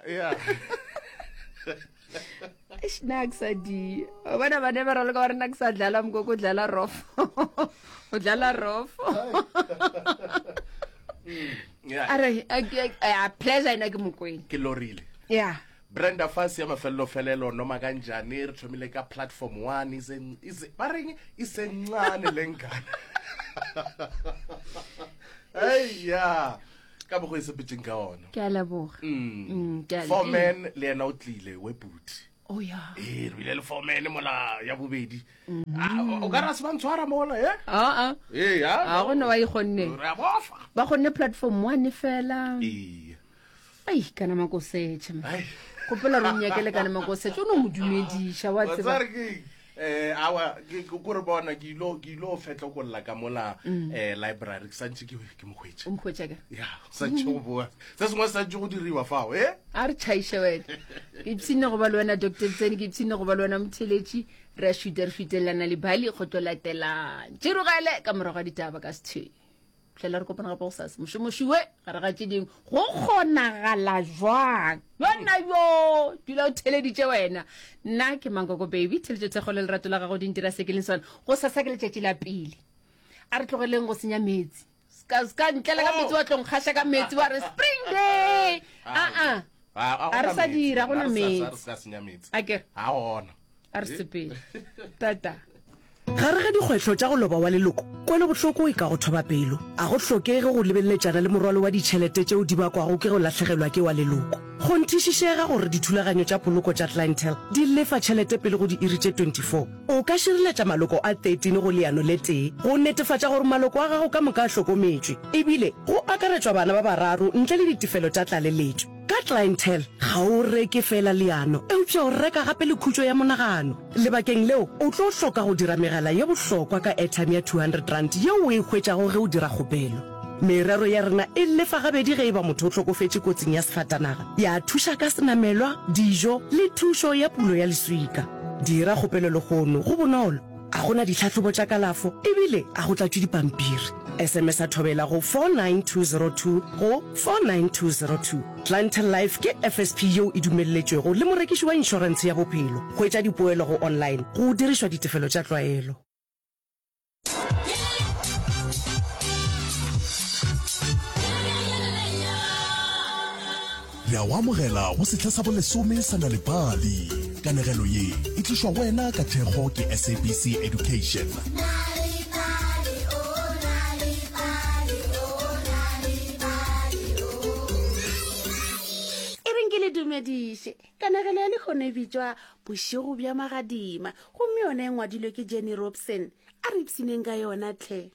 Yeah. Eish, nna ke sa di o bona bane ba raloka ba re nna ke sa dlala mokoko o dlala rofo o dlala rofo Yeah. a re a- a- a- pleasure ena ke mokwena Ke lorile. ya Brenda Fassie ya mafelelo-felelo noma kanjani re thomile ka platform 1 ise ise ba reng isencane lengane. Hey ya. Ka bogo e sepetseng ka ona. Ke a leboga. Mm. Mm, ke a le- Foreman le yena o tlile we buti. Oh ya. Ee, re bile le foreman mola ya bobedi. Ah, o ka ra se ba ntshwara mola eh? Ah ah. Ee, ya. A go ne wa ikgonne. Re a bofa. Ba kgonne platform 1 fela. Ee. Ai kana makosetšhe. Gopola re nyakele kana makosetšhe o no mo dumediša wa tseba. Wa ke eh awa ke ko re bona ke ilo ke ilo fetlokolla ka mola mm. eh library ke santse ke ke mo hwetše. O mo hwetše ka? Ya, santse go boa. Se sengwe santse go diriwa fao, eh? A re tšhaiše wena. Ke ipshinne go ba le wena Dr. Tseni, ke ipshinne go ba le wena Motheletši. Re a šuta re šutelelana le bali go tlo latelang. Tširogele ka morago ga ditaba ka sethwe. Fihlela re kopana gape gosasa. Mošomoši we gare ga tše dingwe go kgonagala jwang? Yona yo dula o theleditše wena. Nna ke Mankoko Baby, theletšo thekgo le lerato la gago di ntira se ke leng sona. Gosasa ke letšatši la pele. A re tlogeleng go senya meetse. Ska ska ntlela ka meetse wa tlo nkgaša ka meetse wa re spring day. A a. A re sa dira go na meetse. A ke. A gona. A re sepele. Tata. Gare ga dikgwetlho tša go loba wa leloko, kwelobohloko e ka go thoba pelo. A go hlokege go lebeleletšana le morwalo wa ditšhelete tšeo di bakwago ke go lahlegelwa ke wa leloko. Kgonthišišega gore dithulaganyo tša poloko tša Clientele di lefa tšhelete pele go diiri tše 24. O ka šireletša maloko a 13 go leano le tee go netefatša gore maloko a gago ka moka a hlokometšwe, ebile go akaretšwa bana ba bararo ntle le ditefelo tša tlaleletšo. Ka Clientele, ga o reke feela leano, eupša o reka gape le khutšo ya monagano. Lebakeng leo, o tlo hloka go dira megala ye bohlokwa ka airtime ya R200 yeo o e hwetšago ge o dira kgopelo. Merero ya rena e lefa gabedi ge e ba motho o hlokofetše kotsing ya sefatanaga, ya thuša ka senamelwa, dijo le thušo ya pulo ya leswika. Dira kgopelo lehono, go bonolo, ga go na ditlhahlobo tša kalafo ebile ga go tlatšwe dipampiri. SMS-a Thobela go 49202 go 49202. Clientele Life ke FSP yeo e dumelletšwego le morekiši wa inšorentshe ya bophelo. Hwetša dipoelo go online go dirišwa ditefelo tša tlwaelo. Re a go amogela go sehla sa bolesome sa Nal'ibali. Kanegelo ye e tlišwa go wena ka thekgo ke SABC Education. E reng ke le dumediše. Kanegelo ya lehono e bitšwa Bošego bja Magadima gomme yona e ngwadilwe ke Jenny Robson. A re ipshineng ka yona tlhe.